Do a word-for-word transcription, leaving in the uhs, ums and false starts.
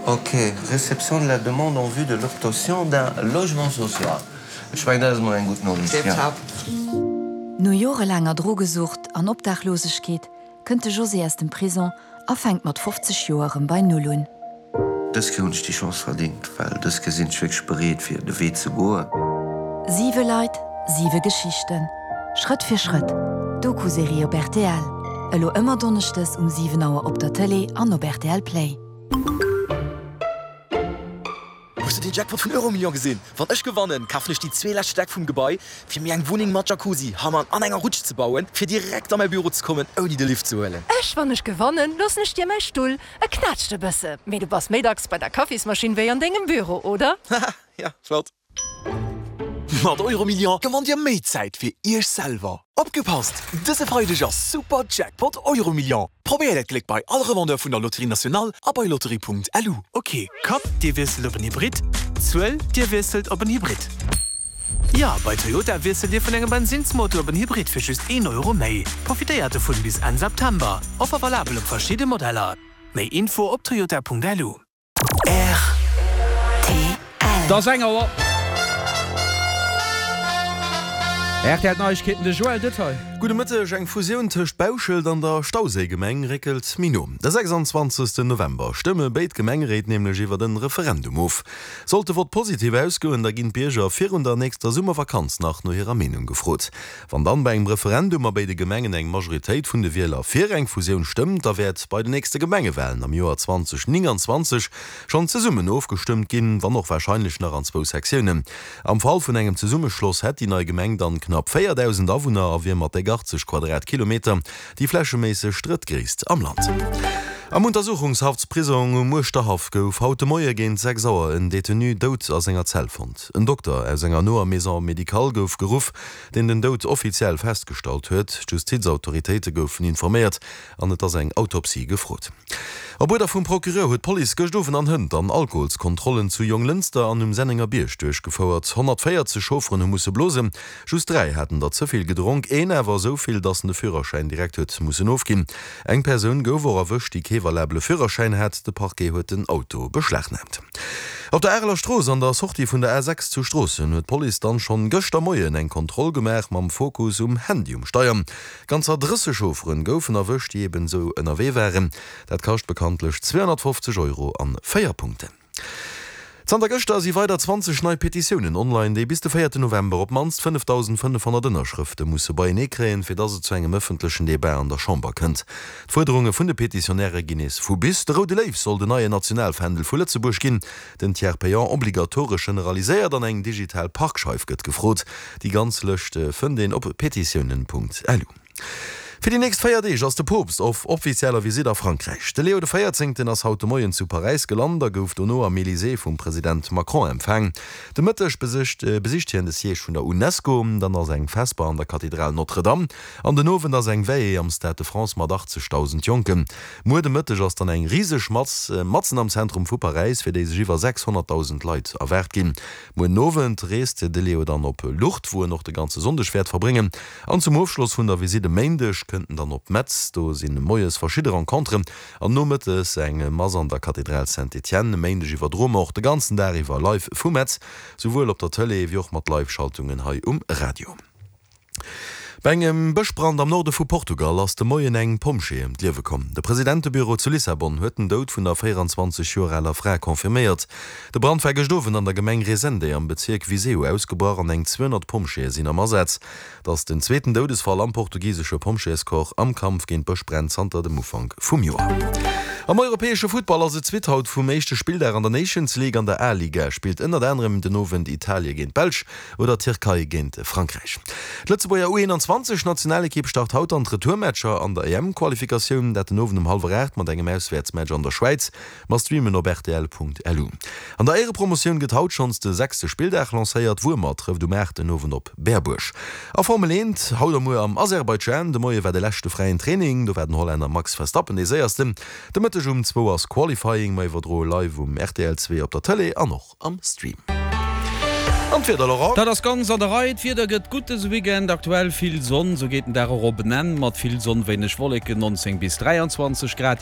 Ok, réception de la demande en vue de l'obtention d'un logement social. Ech mengen, dat ass mol eng gutt Noriicht, ja. No jorelaanger Drogesucht an Obdachlosegkeet kënnt de José aus dem Prison a fänkt mat fofzeg Joer erëm bei Null un. Dës Kéier hunn ech déi Chance verdingt, well dës Kéier sinn ech wierklech bereet fir de Wee ze goen. Siwe Leit, siwe Geschichten. Schrëtt fir Schrëtt, d'Doku-Serie op rtl, elo ëmmer donneschdes um siwen Auer op der Tëlee an op rtl Play. Hues de den Jackpot vun Euromillions gesinn? Wann ech gewannen, kafen ech déi zwee lescht Stäck vum Gebai, fir mir eng Wunneng mat Jacuzzi, Hammam an enger Rutsch ze bauen, fir direkt a mäi Büro ze kommen, ouni de Lift ze huelen. Ech, wann ech gewannen, loossen ech dir mäi Stull. E knätscht e bësse, mee du bass méi dacks bei der Kaffismaschinn wéi an dengem Büro, oder? Haha, ja, flott. Mat Euromillions gewannt dir méi Zäit fir iech selwer. Opgepasst! Dëse Freideg ass Super Jackpot Euromillions! Probéiert äert Gléck bei all Revendeur vun der Loterie Nationale a bei lotterie.lu. Ok, Kapp, Dir wiesselt op en Hybrid, Zuel, Dir wiesselt op en Hybrid. Jo, bei Toyota wiesselt Dir vun engem Bensinnsmotor op en Hybrid fir just een Euro méi. Profitéiert dovun bis Enn September. Offer valabel op verschidde Modeller. Méi Info op toyota.lu. Et ass eng Auer. R T L Neiegkeeten, de Joël Detail. Gudde Mëtteg, Eng Fusioun tëscht Bauschelt an der Stauséigemeng réckelt méi no. De sechsanzwanzegsten November stëmme béid Gemengeréit nämlech iwwert en Referendum of. Sollt de Vott positiv ausgoen, da ginn d'Bierger virun der nächster Summervakanz nach no hirer Meenung gefrot. Wann dann bei engem Referendum a béide Gemengen eng Majoritéit vun de Wieler fir eng Fusioun stëmmt, da wäert bei den nächste Gemengewalen am Joer zwanzeg nénganzwanzeg schonn zesummen ofgestëmmt ginn, wann och warscheinlech nach an zwou Sektiounen. Am Fall vun engem Zesummeschloss hätt déi nei Gemeng dann knapp véierdausend Awunner a wier mat déck achtzeg Quadratkilometer déi flächeméisseg drëttgréisst am Land. Am Untersuchungshaftsprisong um Uerschterhaff gouf haut de Moie géint sechs Auer en Detenu dout a senger Zell fonnt. En Dokter aus enger noer Maison médicale gouf geruff, deen den Doud offiziell festgestallt huet. D'Justizautoritéite goufen informéiert an et ass eng Autopsie gefrot. Op Uerder vum Procureur huet d'Police gëscht Owend an hënt an Alkoholskontrollen zu Jonglënster an um Sennengerbierg duerchgefouert. honnertvéierzeg Chaufferen hu musse blosen, just dräi haten der ze vill gedronk, een awer esou vill, datt en de Führerschäin direkt huet mussen ofginn. Eng Persoun gouf och erwëscht, déi kee valabele Führerschäin hat. De Parquet huet den Auto beschlagnaamt. Op der Areler Strooss an der Sortie vun der A sechs zu Stroossen huet d'Police dann schonn gëschter Moien eng Kontroll gemaach mam Fokus um Handy um Steier. Ganzer drësseg Chaufferen goufen erwëscht, déi eben esou ënnerwee waren. Dat kascht bekanntlech zweehonnertfofzeg Euro an véier Punkten. Zanter gëschter si weider zwanzeg nei Petitiounen online, déi bis de véierten November op d'mannst fënnefdausendfënnefhonnert Ënnerschrëfte musse beienee kréien, fir dass et zu engem ëffentlechen Debat an der Chamber kënnt. D'Fuerderunge vun de Petitionäre ginn nees vu bis, De roude Léiw soll den neien Nationalfändel vu Lëtzebuerg ginn, den Tiers payant obligatoresch generaliséiert an eng digital Parkscheif gëtt gefrot. Déi ganz Lëscht fënnt een op petitiounen Punkt lu. Fir déi nächst véier Deeg ass de Poopst op offizieller Visitt a Frankräich. De Leo de Véierzéngten ass haut de Moien zu Paräis gelant a gouf dono am Elysée vum President Macron empfaang. De Mëtteg besicht hien de Siège vun der Unesco, dann ass eng Vesper an der Kathedral Notre-Dame an den Owend ass eng Veillée am Stade de France mat achtzegdausend Jonken. Muer de Mëtteg ass dann eng riseg Mass matzen am Zentrum vu Paräis, fir déi sech iwwer sechshonnertdausend Leit erwaart ginn. Muer den Owend reest de Leo dann op Lourdes, wou en och de ganze Sonndeg wäert verbréngen. An zum Ofschloss vun der Visitt e Méindeg kënnt en dann op Metz. Do si moies verschidde Renconteren an nomëttes eng Mass an der Kathedral Saint-Étienne. E Méindeg iwwerdroe mer och de ganzen Dag iwwer live vu Metz, souwuel op der Tëlee wéi och mat Live-Schaltungen hei um Radio. Bei engem Bëschbrand am Norde vu Portugal ass de Moien eng Pompjee ëm d'Liewe komm. De Presidentebüro zu Lissabon huet den Doud vun der véieranzwanzeg Joer aler Fra confirméiert. De Brand war gëscht Owend an der Gemeng Resende am Bezierk Viseu ausgebrach an eng zweehonnert Pompjeeë sinn am Asaz. Et ass den zweeten Doudesfall am portugisesche Pompjeescorps am Kampf géint Bëschbränn zanter dem Ufank vum Joer. Am europäesche Futtball ass et d'Suite haut vum éischte Spilldag an der Nations League. An der A-Liga spillt ënnert anerem den Owend Italie géint d'Belsch oder d'Tierkei géint Frankräich. D'Lëtzebuerger U einundzwanzeg Nationalekipp start haut an d'Retourmatcher an der E M-Qualifikatioun, dat den Owend um hallwer aacht mat engem Auswäertsmatch an der Schwäiz. Mer streamen op R T L Punkt L U. An der Éierepromotioun gëtt haut schonns de sechste Spilldag lancéiert. Wuermer trëfft um aacht den Owend op Berbuerg. A Formel eent haut a muer am Aserbaidschan. De Moie war de leschte fräien Training, do war den Hollänner Max Verstappen dee séiersten. De Mëtteg um zwou ass Qualifying, mer iwwerdroe live um R T L zwee op der Tëlee an och am Stream. An d'Wieder, Laurent? Dat ass ganz an der Rei. D'Wieder gëtt gutt dëse Weekend. Aktuell vill Sonn, sou geet den Dag och op en Enn mat vill Sonn, wéineg Wolleken, nonzéng bis dräianzwanzeg Grad.